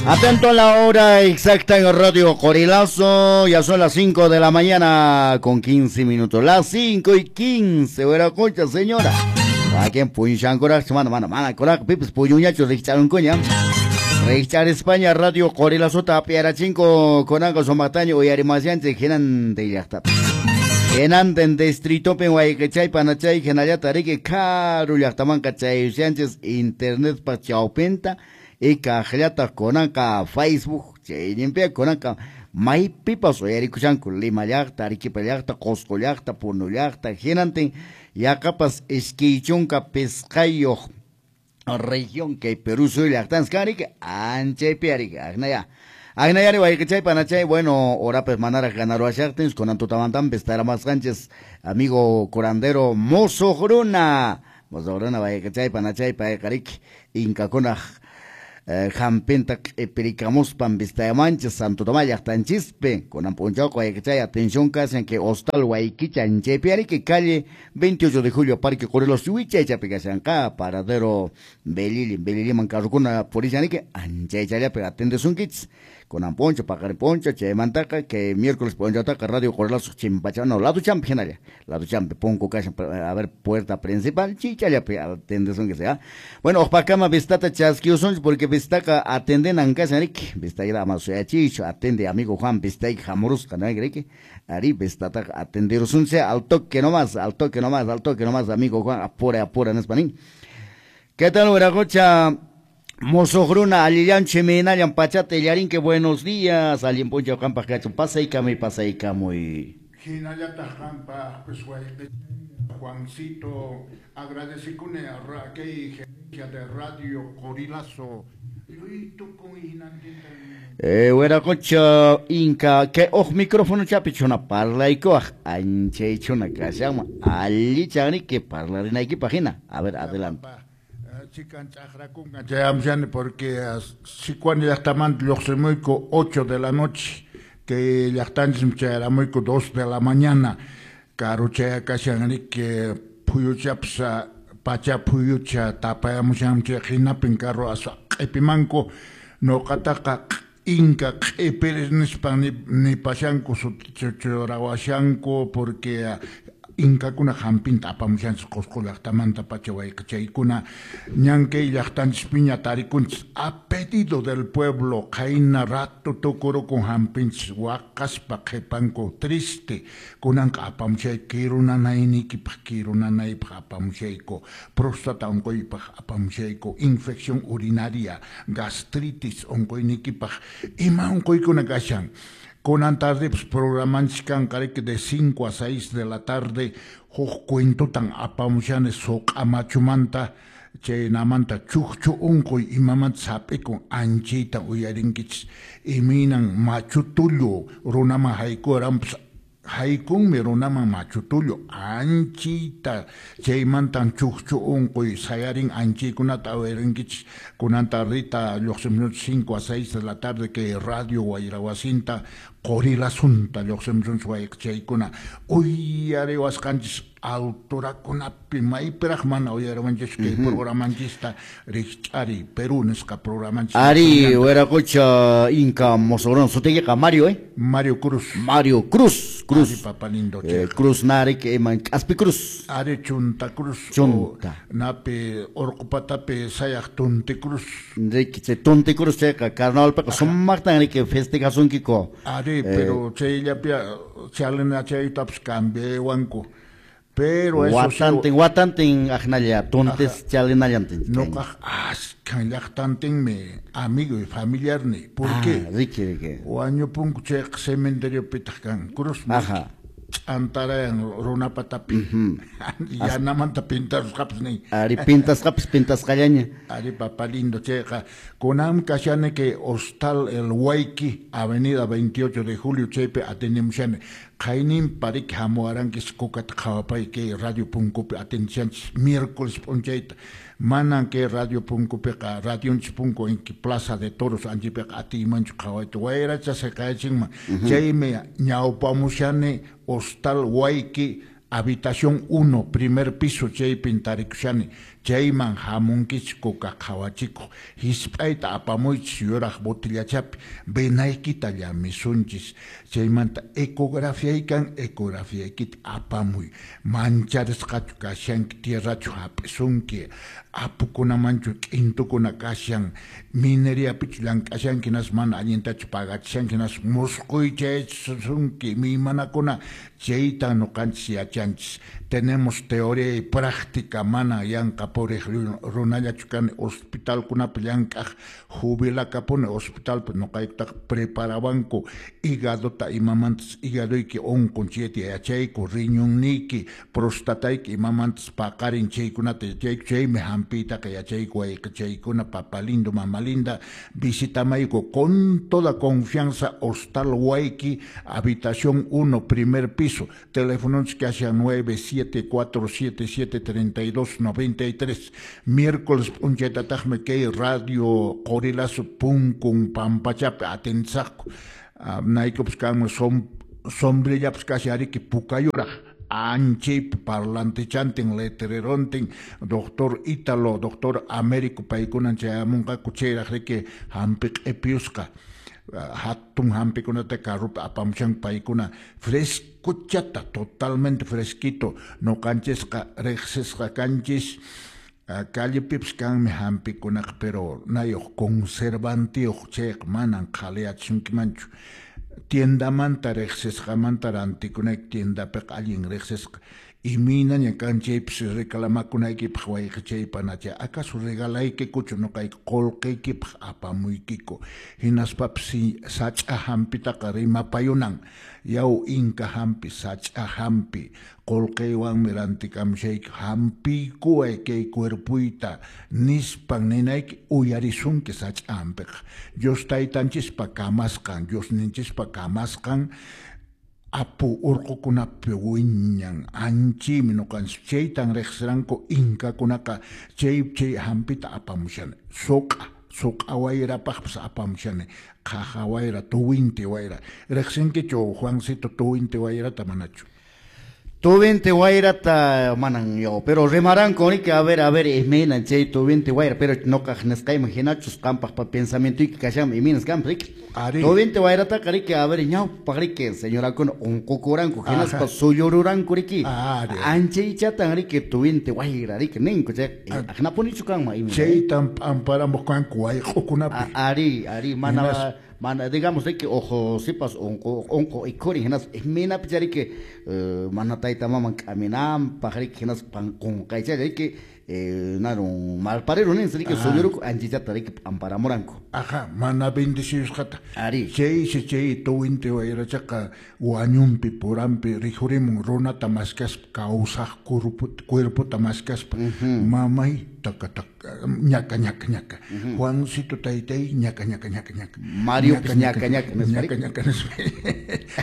Atento a la hora exacta en Radio Qorilazo, ya son las 5 de la mañana con 15 minutos. Las 5:15, wiraqucha, señora. Wakin puñushankuraqchu, mana, mana, mana, kuraq, pipis puñuñachu rikch'arunkuña. Rikch'ar España Radio Qorilazota apiarachinko kunanqa sumaqtaña uyarimasyanchik hinantin llaqtapi. Hinantin distritopin wayqichay panachay hinallata riki karu llaqtamanqa chayusyanchis internetpa chawpinta y kaqllataq kunanqa Facebook chayninpiqa kunanqa maypipas uyarikushanku Lima llaqta, Arequipa llaqta, Qusqu llaqta, Puno llaqta, hinantin yaqapas 25 región kay Perú suyu llaqtanchis kan riki anchaypi riki aqnaya. Aqnayari wayqichay panachay, bueno, horapis manaraq ganaruwashaqtin kunan tutamantanpis taramasqanchis amigo curandero Musuq Runa. Musuq Runa wayqichay panachay payqa riki inkakunaq hampinta q'ipirikamuspan vistayamanchis Santo Tomás llaqtanchispi. Kunan p'unchawqa wayqichay atención kashan que Hostal Huayquicha anchaypi riki calle 28 de julio Parque Qorilazo wichaychapi kashanqa paradero Belili, Beliliman carrukuna purishan riki anchaychallapi atendesunkichis. Kunan p'unchaw paqarin p'unchaw chaymantaqa que miércoles p'unchawtaqa Radio Qorilazo chimpacha no lado champi hinalla lado champi punku kashan a ver puerta principal chichallapi atendesunkichis ya. Bueno, uqpakama vistata chaskiusunchis porque vistaqa atendenan kashan riki vistayqa ama suyachiychu atende amigo Juan vistayqa hamurusqa ¿no? Riki ari vistataqa atenderusunchis al toque nomás, al toque nomás, al toque nomás amigo Juan, apura apura nispa nin. ¿Qué tal wiraqucha? Musuq Runa, allillanchu imaynallan pachata illarinki, buenos días, allin p'unchaw qampaq kachun, pasaykamuy, pasaykamuy. Hinallataq qampaq, pues, wayqi Juancito, agradecikuni kay gerencia de Radio Qorilazo. Wiraqucha inka, kay uq micrófono chapi chuna parlaykuwaq, anchaychuna kashanman, allichan riki parlarinaykipaq hina. A ver, adelante. Chikan ch'aqrakunqa chayamshani porque Sicuani llaqtamanta lluqsimuyku 8 de la noche, que llaqtanchismi chayaramuyku 2 de la mañana, karu chayakashan riki phuyuchapas pacha phuyucha tapayamushanmi chay hinapin carro aswa q'ipimanku nuqataqa inka q'ipiris nispan nipashanku sutichurawashanku porque inkakuna hampinta apamushanchis Qusqu llaqtamanta pacha wayqichaykuna ñan kay llaqtanchispiña tarikunchis a pedido del pueblo qayna rato tukurukun hampinchis waqaspa qhipanku triste kunanqa apamushay kirunanayniykipaq kirunanaypaq apamushayku próstata unquypaq apamushayku infección urinaria gastritis unquyniykipaq ima unquykuna kashan. Kunan tarde pues programanchis kanqa riki de 5 a 6 de la tarde huk cuentotan apamushani suq'a machumanta chaynamanta chukchu unquy imamanta sap'ikun anchayta uyarinkichis imaynan machu tullu runaman haykuranpas haykunmi runaman machu tullu anchayta chaymantan chukchu unquy sayarin anchaykunata uyarinkichis kunan tardita lluqsimusunchis 5 a 6 de la tarde kay radio wayrawasinta Qorilazunta lluqsimusunchis wayqichaykuna uyariwasqanchis alturakunapi maypiraq mana uyariwanchis kay programanchista Rikch'ari Perú nisqa programanchis. Ari wiraqucha inka musuq runa sutiykiqa Mario, Mario Cruz. Mario Cruz, Cruz. Ari papa lindo, Cruz narik iman K'aspi Cruz. Ari Chunta Cruz. Chunta. Napi Urqupatapi sayaq Tunti Cruz. Riki chay Tunti Cruz chayqa carnavalpiqa sumaqtan riki festejasunkiku. Ari, pero chayllapi chalina chaytapas cambiawanku. Pero eso watantin, watantin aqnalla tuntis chalinallantin. Nuqaq ashkan llaqtantinmi amigo y familiarni. ¿Por qué? Riki, riki. Wañupunku chayqa cementeriopitaq kan cruz. Ajá. Ch'antarayan runapatapi. Yanamanta pintarusqapas nin. Ari pintasqapas pintasqallaña. Ari papa lindo chayqa kunan kashani kay Hostal El Huayqui, Avenida 28 de Julio chaypi atendemushani. Qaynin pariki hamuwarankichis kukata qhawapay kay Radio Punkupi atendishanchis miércoles p'unchayta. Manan kay Radio Punkupiqa radionchis punku inki Plaza de Toros anchaypiqa atiymanchu qhawayta wayracha siqayachinman. Chaymi ñawpamushani Hostal Huayqui, Habitación 1, primer piso, chaypin tarikushani. Chayman hamunkichik kuka qhawachikuq. Hisp'ayta apamuychis yuraq botillachapi, venaykita llamisunchis. Chaymanta ecografiaykan, ecografiaykita apamuy. Mancharisqachu kashanki, tierrachu hap'isunki, apukunamanchu k'intukuna kashan, mineriapichu llank'ashanki, nas mana allintachu pagachishanki, nas musquy chaychisunki, mimanakuna chayta nuqanchis yachanchis. Tenemos teoría y práctica, mana yanqa puriq runallachu kani, hospitalkunapi llank'aq jubilakapuni hospitalpi nuqaykutaqa preparawanku hígadota imamantas hígadoyki unqun chayta yachayku, riñonniyki, prostatayki imamantas paqarin chaykunata yachayku, chaymi hampiytaqa yachayku wayqichaykuna, papa lindo, mama linda, visitamayku con toda confianza, Hostal Wayki, habitación 1, primer piso, teléfono kashan 974773293, miércoles p'unchaytataqmi kay radio Qorilazo punkun pampachapi atendisaqku, naykupis kanman sombrillapis kashan ariki pukayuraq, anchaypi parlantechantin, letrerontin, doctor Ítalo, doctor Américo paykunan chayamunqaku chayraq riki hampi q'ipiyusqa, hatun hampikunata carrupi apamushanku paykuna frescochata, totalmente fresquito, nuqanchisqa riqsisqa kanchis, callepipis kanmi hampikunaqa, pero nayuq conservantiyuq chayqa manan qhaliyachisunkimanchu. Tiendamanta riqsisqamanta rantikunayki tiendapiqa allin riqsisqa, imaynaña kan chaypis reclamakunaykipaq wayqichaypanacha, acaso regalaykikuchu nuqayku qullqiykipaq apamuykiku, hinaspapis sach'a hampitaqa rimapayunan, yaw inka hampi, sach'a hampi, qullqiywanmi rantikamushayki, hampiykuway kay cuerpuyta nispan ninayki uyarisunki sach'a hampiqa. Dios taytanchispa kamasqan, Diosninchispa kamasqan, apu urqukunapi wiñan, anchaymi nuqanchis, chaytan riqsiranku inkakunaqa, chay chay hampita apamushani, suq'a wayrapaqpas apamushani, qaja wayra, tuwinti wayra, riqsinkichu Juancito tuwinti wayrata manachu? Tuwinti wayrata manan yo, pero rimaranku riki, a ver, imaynan chay tuwinti wayra, pero nuqaq nisqayman hinachus qampaq pensamientoyki kashanman imaynas kanpas riki. Tuwinti wayrataqa riki, a ver, ñawpaq riki, señorakuna unqukuranku, hinaspa sullururanku riki. Anchaychatan riki tuwinti wayra riki ninku chay, aqnapunichu kanman imayna. Chaytan p'amparamuq kanku wayq'ukunapi. Ari, mana mana digamos riki ojo sipas unqu ikhurin hinaspa imaynapi riki mana tayta maman k'aminanpaq riki hinaspa qunqaychalla riki narun malpariru ninsi riki sulluruku anchaychata riki p'amparamuranku. Aja, mana bendeciusqata. Ari. Chaysi chay tuwinti wayrachaqa wañunpi puranpi rikhurimun runata maskaspa kawsaq cuerpota maskaspa, mamay taka taka ñaka ñaka ñaka, Juancito taytay ñaka ñaka ñaka ñaka, Mariopis ñaka ñaka ñaka ñaka nispa,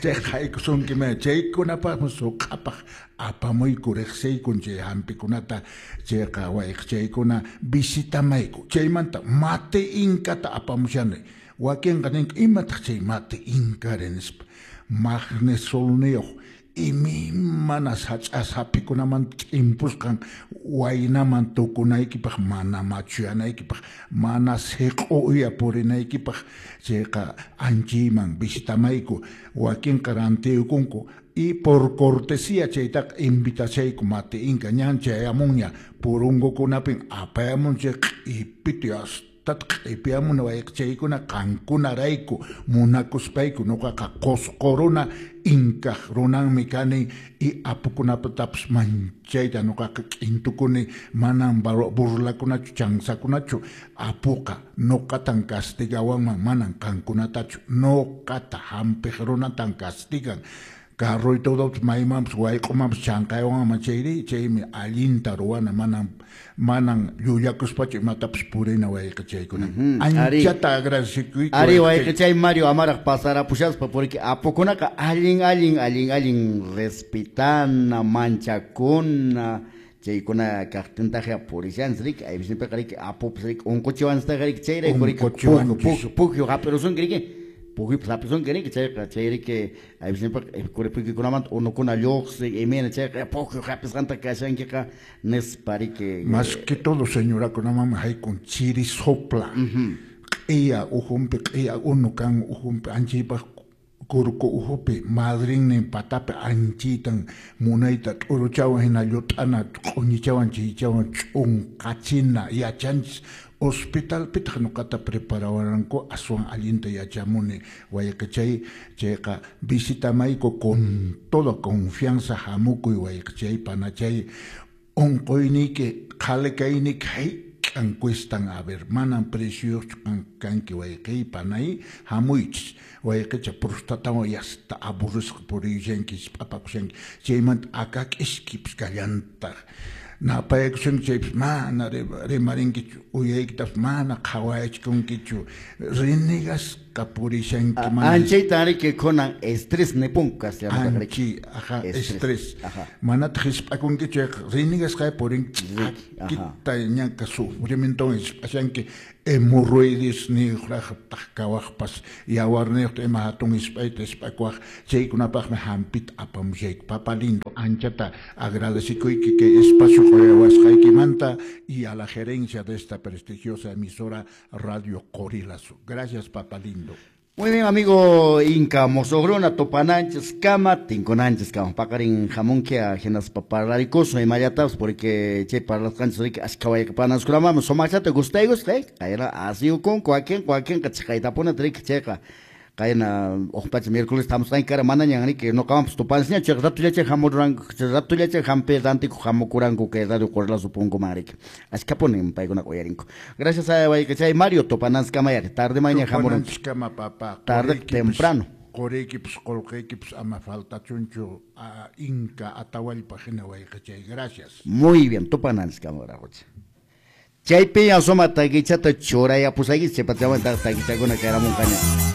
chay haykusunki ma chaykunapaqmi suq'apaq apamuyku riqsiykun chay hampikunata, chayqa wayqichaykuna visitamayku, chaymanta mate inkata apamushani, wakinqa ninku imataq chay mate inkari nispa, magnesolniyuq imaymana sach'a sapikunaman ch'impusqan waynaman tukunaykipaq, mana machuyanaykipaq, mana siq'u uya purinaykipaq, chayqa anchayman visitamayku, wakinqa rantiyukunku, y por cortesía chaytaqa invitashayku mate inka ñan chayamunña purungukunapin apayamun chay q'ipiti hasta q'ipiyamuna wayqichaykuna qankunarayku munakuspayku, nuqaqa Qosqo runa inkaq runanmi kani y apukunapatapas manchayta nuqaqa k'intukuni, manan burlakunachu chansakunachu, apuqa nuqatan castigawanman, manan qankunatachu, nuqata hampiq runatan castigan, carro y todo maymanpas wayq'umanpas chanqaywanman chayri, chaymi allinta ruwana, manan llullakuspachu imatapas purina wayqichaykuna. Anchata agradecikuyku. Ari wayqichay Mario amaraq pasarapushaspa, porque apukunaqa allin allin allin allin respetana, manchakuna, chaykuna kaqtintaq purishanchis riki, aypisnipiqa riki apupis riki unquchiwanchistaq riki, chayrayku riki pukyu hap'irusunki riki. Pukuypas hapisunki riki chayqa chayriki aypisninpaqa kuripuykikunamanta unukuna lluqsin imayna chayqa pukyu hapisqanta kashankiqa nispa riki. Más que todo señorakunamanmi haykun chiri sopla. Q'iya uhunpi q'iya unu kan uhunpi anchaypaq kurku uhupi madrinnin patapi anchaytan munayta t'uruchawan hina llut'ana q'uñichawan chaychawan ch'unqachina yachanchis. Hospitalpitaq ñuqata preparawaranku aswan allinta yachamuni wayqichay chayqa visitamayku con toda confianza hamukuy wayqichay panachay unquyniyki qhali kayniyki hayk'an cuestan a ver manan precioyuqchu kanki wayqiy panay hamuychis wayqicha prostatawan yasta aburrisqa puriyushanki p'apakushanki chaymanta akak'iskipis kallantaq napaykusunki chaypis mana rimarinkichu uyaykitapas mana qhawayachkunkichu renegasqa purishanki mana Anchaytan riki kunan estrés nipunku castellanotaqa riki. Anchi, aja, Estrés. estrés. Aja. Manataq hisp'akunkichu chayqa renegasqa purinki Riki, aja. ch'akita ñanka sufrimientowan hisp'ashanki hemorroides niyuqraq kawaqpas yawarniyuqta ima hatun hisp'ayta hisp'akuwaq chaykunapaqmi hampita apamushayku. Papa lindo, anchata agradecikuyki kay espacio quyawasqaykimanta y a la gerencia de esta prestigiosa emisora Radio Qorilazo. Gracias, papa lindo. Muy bien, amigo Inca Mosogruna, topananchis kama, tinkunanchis kama, paqarin hamunkia hinaspa parlarikusun imallatapas porque chay parlasqanchis riki ashka wayqi sumaqllata gustaykusqa, qayna asiyukunku wakinqa wakinqa chiqaytapuni riki chayqa qayna uq pacha miércoles hamusqanki kara manañan riki ñuqawanpas tupansña chayqa ratullacha hamuranku ratullacha hampi rantikuq hamukuranku kay Radio Qorilazo punkuman riki ashkapunin paykunaqa uyarinku. Gracias a wayqichay Mario topananchis kama yari tarde maña hamurunki. Tupananchis kama, papa. Tarde temprano. Quriykipas qullqiykipas ama faltachunchu Inca Atahualpa hina wayqichay. Gracias. Muy bien, tupananchis kama wiraqucha. Chaypi asuma takichata churayapusaykichis chay pachamantaq takichakuna kayramunqaña.